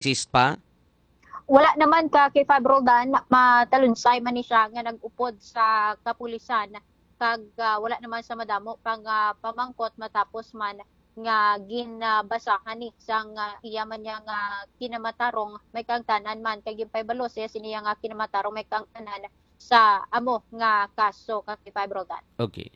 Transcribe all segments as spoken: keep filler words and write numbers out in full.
exist pa? Wala naman ka kay Five Roldan, matalunsay man ni siya nga nag-upod sa kapulisan kag, ah, wala naman sa madamo pang, ah, pamangkot matapos man nga ginbasahan ni sang, ah, iya man niya nga kinamatarong may kaangtanan man kag ginpahibalo siya sini nga kinamatarong may kaangtanan sa amo nga kaso ka kay Five Roldan. Okay.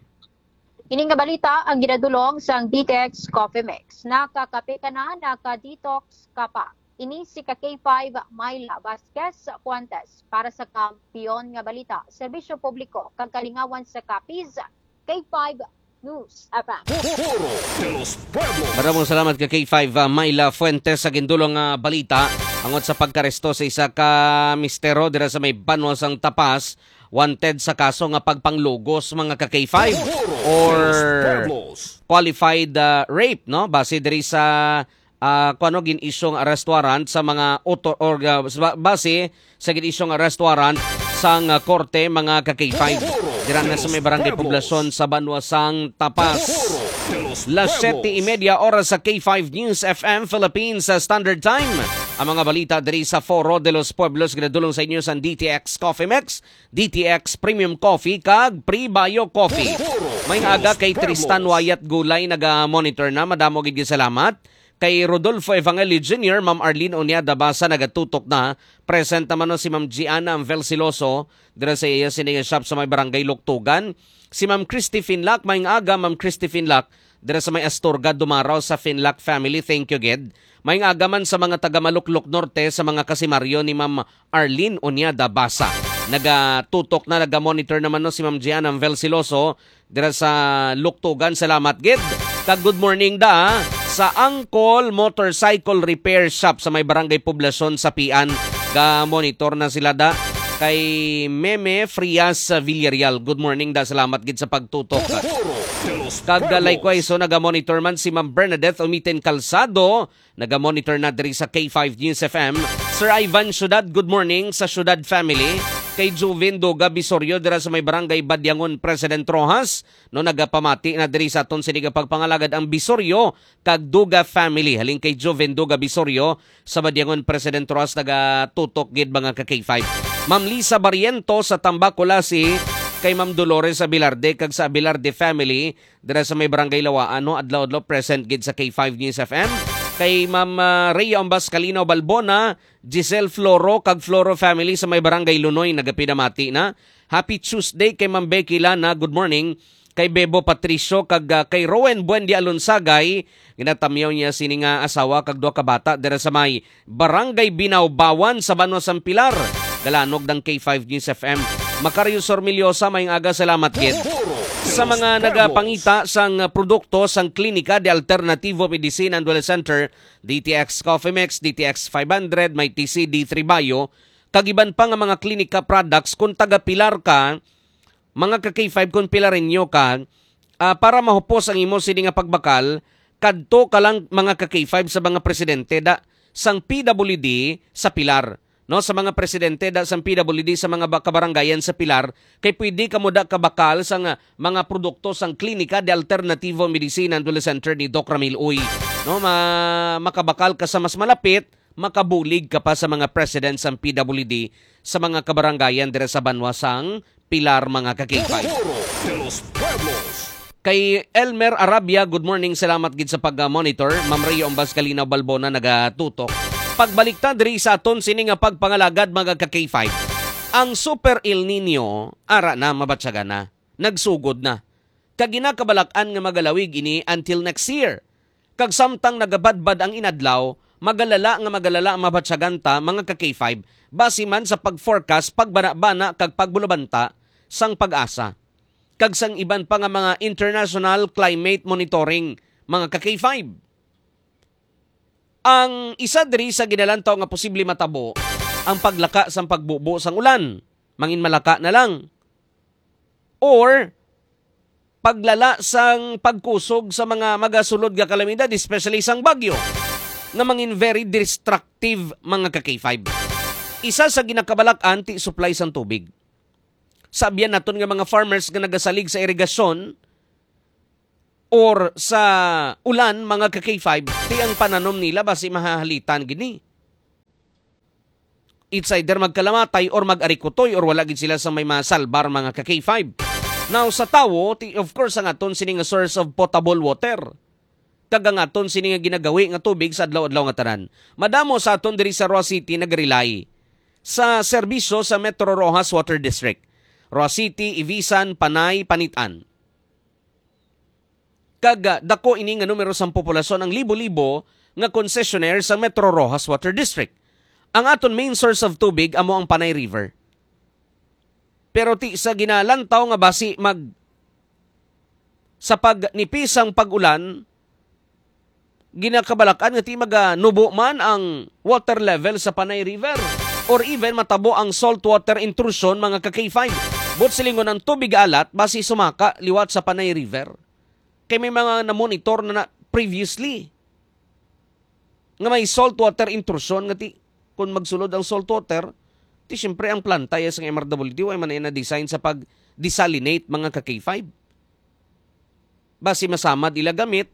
Ini nga balita ang ginadulong sang D T X Coffee Mix. Nakakape ka na, naka-detox ka pa. Ini si ka K five Myla Vasquez Fuentes para sa Kampiyon nga Balita, Serbisyo Publiko kag Kalingawan sa Capiz, K five News F M. Foro de los Pueblos. Maramong salamat ka K five, ah, Myla Fuentes sa gindulong nga balita angot sa pagkaresto sa isa ka mistero dira sa may banwa sang Tapas, wanted sa kaso nga pagpanglugos, mga ka K five, Foro de los or Pueblos. Qualified, ah, rape, no? Base diri sa, ah, kuno gin-issue nga arrest warrant sa mga auto-, or, ah, sa ba-, base sa gin-issue nga arrest warrant sang, ah, korte, mga ka K five. Dira na sa may barangay poblasyon sa banwa sang Tapas. Las siete y media oras sa K five News F M Philippines sa Standard Time. Ang mga balita diri sa Foro de los Pueblos ginadulong sa inyo sa D T X Coffee Mix, D T X Premium Coffee, kag Pre-Bio Coffee. May aga kay Tristan Wayat Gulay, naga-monitor na. Madamo gid salamat. Kay Rodolfo Evangelio Junior, Ma'am Arlene Onyada Basa nagatutok na. Present naman no si Ma'am Gianna Anvel Siloso dira sa iya sini nga shop sa may barangay Luktugan. Si Ma'am Christy Finlac, maayong aga, Ma'am Christy Finlac, dira sa may Astorga, Dumaraw sa Finlac family. Thank you, gid. Maayong aga man sa mga taga Maluklok Norte, sa mga kasimaryo ni Ma'am Arlene Onyada Basa. Nagatutok na, naga-monitor naman no si Ma'am Gianna Anvel Siloso dira sa Luktugan. Salamat gid. Kag good morning da sa Angkol Motorcycle Repair Shop sa may Barangay Poblasyon sa Pian. Ga-monitor na sila da kay Meme Frias Villarreal. Good morning da. Salamat gid sa pagtutok. Kag, uh, likewise, so, naga-monitor man si Ma'am Bernadette Umiten Calzado. Naga-monitor na diri sa K five News F M. Sir Ivan Ciudad, good morning sa Ciudad family. Kay Juvin Duga Bisorio dira sa may barangay Badyangon, President Roxas. No, nagapamati na diri sa aton sini nga pagpangalagad ang Bisorio kag Duga family. Halin kay Juvin Duga Bisorio sa Badyangon, President Roxas, nagatutok gid, mga ka K five. Ma'am Lisa Barriento sa Tambacolasi, kay Ma'am Dolores Abilarde kag sa Abilarde family dira sa may Barangay Lawaan, no? Adlaw-adlaw present gid sa K five News F M. Kay Ma'am, ah, Rhea Ombas Calino Balbona, Giselle Floro, kag Floro family sa may Barangay Lunoy, nagapinamati na. Happy Tuesday kay Ma'am Becky Lana. Good morning. Kay Bebo Patricio kag, ah, kay Rowen Buendia Alonsagay, ginatamyaw niya sini nga asawa kag duha ka bata dira sa may Barangay Binawbawan sa Banwa sang Pilar. Galanog ng K five News F M. Macario Sormillosa, maayong aga, salamat gid. Sa mga nagapangita sang produkto sang Klinika de Alternativo Medicine and Wellness Center, D T X Coffee Mix, D T X five hundred, may T C D three Bio, kag iban pa nga mga klinika products, kung taga Pilar ka, mga ka K five, kung Pilareño ka, ah, para mahupos ang imo sini nga pagbakal, kadto ka lang, mga ka K five, sa mga presidente da sang P W D sa Pilar, no, sa mga presidente da sang P W D sa mga ba-, kabarangayan sa Pilar, kay pwede kamo da kabakal sa nga mga produkto sang Klinika de Alternativo Medicine and Wellness Center ni Doc Ramil Uy. No, ma-, makabakal ka sa mas malapit, makabulig ka pa sa mga president sang P W D sa mga kabarangayan dira sa banwa sang Pilar, mga ka-K five. Foro de los Pueblos. Kay Elmer Arabia, good morning, salamat gid sa pag-monitor. Ma'am Rhea Ombas Kalinaw Balbona nagatutok. Pagbalik ta diri sa aton sini nga pagpangalagad, mga ka-K five. Ang Super El Nino, ara na, mabatyagan na. Nagsugod na. Kag ginakabalak-an nga magalawig ini until next year. Kag samtang nagabadbad ang inadlaw, magalala nga magalala ang mabatyagan ta, mga ka-K five, base man sa pag-forecast, pagbanabana kag pagbulabanta sang PAGASA kag sang iban pa nga mga international climate monitoring, mga ka-K five. Ang isa diri sa ginalantaw nga posible matabo, ang paglaka sang pagbubo sang ulan. Mangin malaka na lang. Or paglala sang pagkusog sa mga magasulod nga kalamidad, especially sang bagyo, nga mangin very destructive, mga ka-K five. Isa sa ginakabalak-an ti supply sang tubig. Sabian naton nga mga farmers nga nagasalig sa irigasyon or sa ulan, mga ka-K five, ti ang pananom nila basi mahahalitan gini. It's either magkalamatay or mag-arikutoy or wala gid sila sa may masalbar, mga ka-K five. Now, sa tawo, ti-, of course, ang aton sini nga source of potable water. Kag ang aton sini nga ginagawi nga tubig sa adlaw-adlaw nga tanan. Madamo sa aton diri sa Roa City nagrely sa serbisyo sa Metro Roxas Water District. Roa City, Ivisan, Panay, Panitan. Kag, ah, dako ini nga numero sang populasyon, ang libo-libo nga concessionaire sa Metro Roxas Water District. Ang aton main source of tubig amo ang Panay River. Pero ti sa ginalantaw nga basi mag-, sa pagnipi sang pag-ulan, ginakabalak-an nga ti maganubo man ang water level sa Panay River or even matabo ang saltwater intrusion, mga ka-K five. Buot silingon, ang tubig alat basi sumaka liwat sa Panay River. Kay may mga namonitor na, na previously nga may saltwater intrusion nga ti, kung magsulod ang saltwater, ti siyempre ang planta ya sang M R W D way man na design sa pag-desalinate, mga ka-K five. Basi masamad ila gamit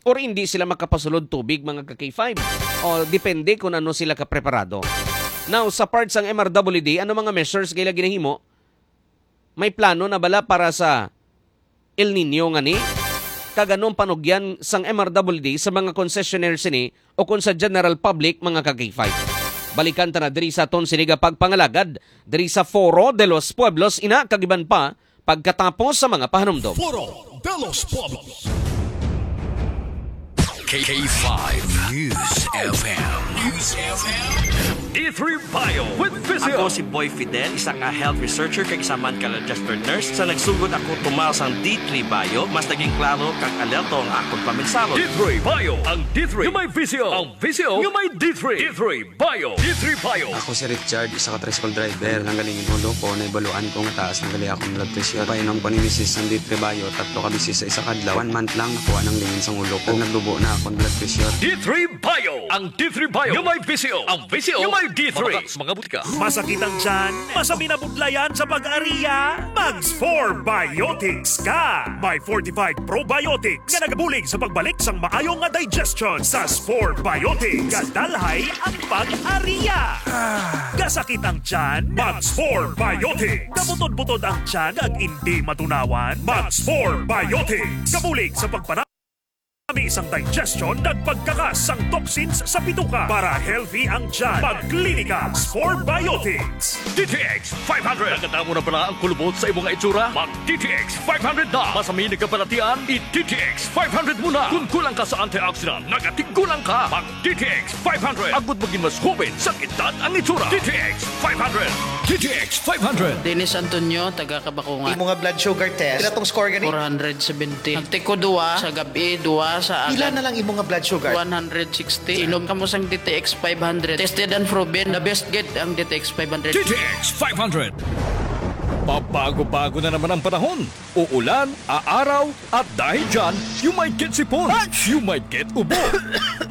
or hindi sila makapasulod tubig, mga ka-K five. O depende kung ano sila kapreparado. Now, sa part sang M R W D, ano mga measures nga ila ginahimo? May plano na bala para sa El Niño nga ni? Kag anong panugyan sang M R W D sa mga concessionaire sini o kung sa general public, mga ka-K five? Balikan ta na diri sa aton sini nga pagpangalagad diri sa Foro de los Pueblos, ina kag iban pa pagkatapos sa mga pahanumdom. Foro de los Pueblos. K five News F M. News F M. D three Bio with Visio. Ako si Boy Fidel, isa ka health researcher kag isa man ka registered nurse. Sa nagsugod ako tumal sang D three Bio, mas naging klaro kag alerto ang akon pamensahon. D three Bio, ang D three nga may visyo, ang visyo nga may D three. D three Bio. D three Bio. Ako si Richard, isa ka tricycle driver. Nanggaling ang ulo ko, naibaluan ko nga taas na gali akong blood pressure. Painom ko ni misis sang D three Bio, tatlo ka beses sa isa ka adlaw. One month lang, nakuha nang lingin sang ulo ko. Nagdubo na akong blood pressure. D three Bio. Ang D three Bio nga may visyo. Ang visyo nga may D three. Mabakal sa mga butika. Masakit ang tiyan? Masami na budlayan sa pag-ariya? Mag Spore Biotics ka! May fortified probiotics nga nagabulig sa pagbalik sang maayo nga digestion. Sa Spore Biotics, gadalhay ang pag-ariya. Gasakit ang tiyan? Mag Spore Biotics. Gabutod-butod ang tiyan kag indi matunawan? Mag Spore Biotics. Gabulig sa pagpanami sang digestion kag pagkakas sang toxins sa bituka para healthy ang tiyan. Magklinika Spore Biotics. D T X five hundred. Nakadamo na bala ang kulubot sa imo nga itsura? Mag D T X five hundred na. Masami nagkabalatian, i D T X five hundred mo na. Kung kulang ka sa antioxidant, nagatigulang ka. Mag D T X five hundred. Agud magin mas hoben sa edad ang itsura. D T X five hundred. D T X five hundred. Dennis Antonio, taga Kabakungan. Imo nga blood sugar test, pila tong score gani? Four hundred seventy. Nagtiko duwa sa gabi, duwa sa Pila agad. Na lang imo nga blood sugar? One hundred sixty. Inom kamo sang D T X five hundred. Tested and proven. The best gid ang D T X five hundred. D T X five hundred. Pabago-bago na naman ang panahon. Uulan, aaraw, at dahil dyan, you might get sipon, you might get ubo,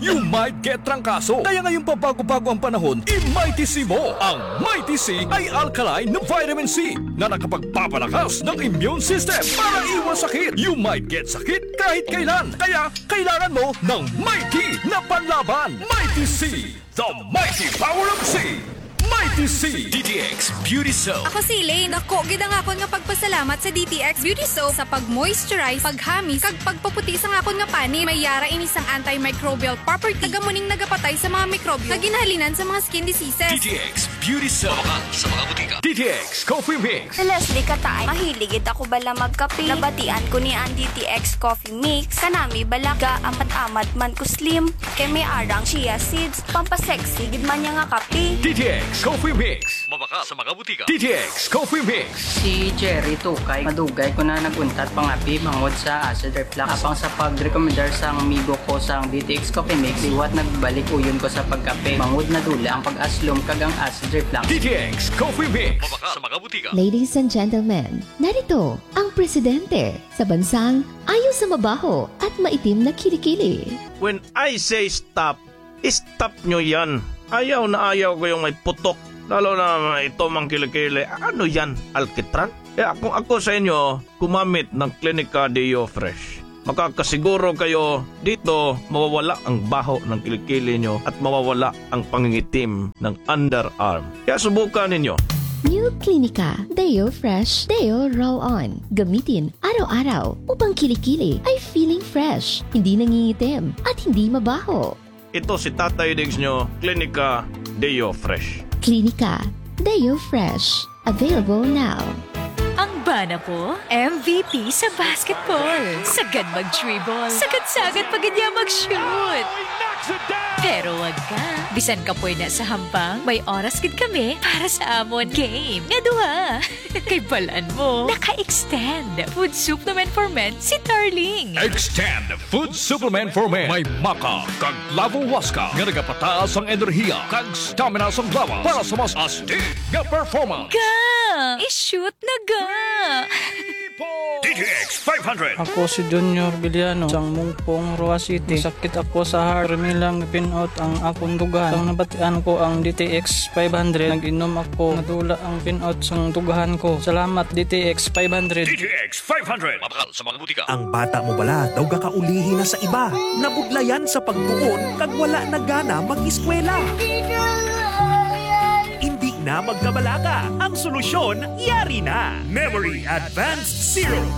you might get trangkaso. Kaya ngayong pabago-bago ang panahon, i-Mighty C mo. Ang Mighty C ay alkaline na vitamin C na nakapagpapalakas ng immune system para iwas sakit. You might get sakit kahit kailan. Kaya kailangan mo ng Mighty na panlaban. Mighty C, the mighty power of C. Mighty C. D T X Beauty Soap. Ako si Elaine. Dako gid ang akon nga pagpasalamat sa D T X Beauty Soap sa pag-moisturize, paghamis, kag pagpaputi sang akon nga panit. May yara ini sang antimicrobial property. Taga mo ning nagapatay sa mga mikrobyo nga ginahalinan sa mga skin diseases. D T X Beauty Soap. Mabakal sa mga butika. D T X Coffee Mix. Si Leslie Katay, mahilig gid ako bala magkape. Nabatian ko ni ang D T X Coffee Mix. Kanami bala ga amat-amat man ko slim. Kay may arang chia seeds, pampasexy gid man niya nga kape. D T X Coffee Mix. Mabakal sa mga butika. D T X Coffee Mix. Si Jerry Tukay, madugay ko na nag-untat pangape bangod sa acid reflux. Apang sa pagrekomendar sang amigo ko sang D T X Coffee Mix, liwat nagbalik uyon ko sa pagkape bangod nadula ang pag-aslom kag ang acid reflux. D T X Coffee Mix. Mabakal sa mga butika. Ladies and gentlemen, narito ang presidente sa bansang ayo sa mabaho at maitim na kilikili. When I say stop, stop nyo yan. Ayaw na ayaw ko yung may putok. Lalo na ito mang kilikili. Ano yan? Alkitran? Kaya kung ako sa inyo, gumamit ng Clinica Deo Fresh. Makakasiguro kayo dito mawawala ang baho ng kilikili nyo at mawawala ang pangingitim ng underarm. Kaya subukan ninyo. New Clinica Deo Fresh Deo Roll-On. Gamitin araw-araw upang kilikili ay feeling fresh, hindi nangingitim, at hindi mabaho. Ito si Tatay Diggs nyo, Klinika Deo Fresh. Klinika Deo Fresh. Available now. Ang bana ko, M V P sa basketball. Sagad mag-dribble. Sagad-sagad pa gid niya mag-shoot. Pero wag ka. Bisan kapoy na sa hampang, may oras gid kami para sa amon game nga duha. Kay balan mo, naka-extend Food Supplement for Men si Darling. Extend Food Supplement for Men. May maca kag lavo huasca nga nagapataas ang enerhiya kag stamina sang lawas para sa mas astig nga performance. Ga! I-shoot na ga! D T X five hundred. Ako si Junior Villano, sang Mungpong, Roa City. Sakit ako sa heart. Permi lang pin-out ang akong dughan. Sang nabatian ko ang D T X five hundred, nag-inom ako. Nadula ang pin-out sang dughan ko. Salamat, D T X five hundred. D T X five hundred. Mabakal sa mga butika. Ang bata mo bala daw gakaulihi na sa iba, nabudlayan sa pagtuon kag wala na gana mag-eskwela. Hindi na magkabalaka. Ang solusyon, yari na. Memory Advanced Syrup.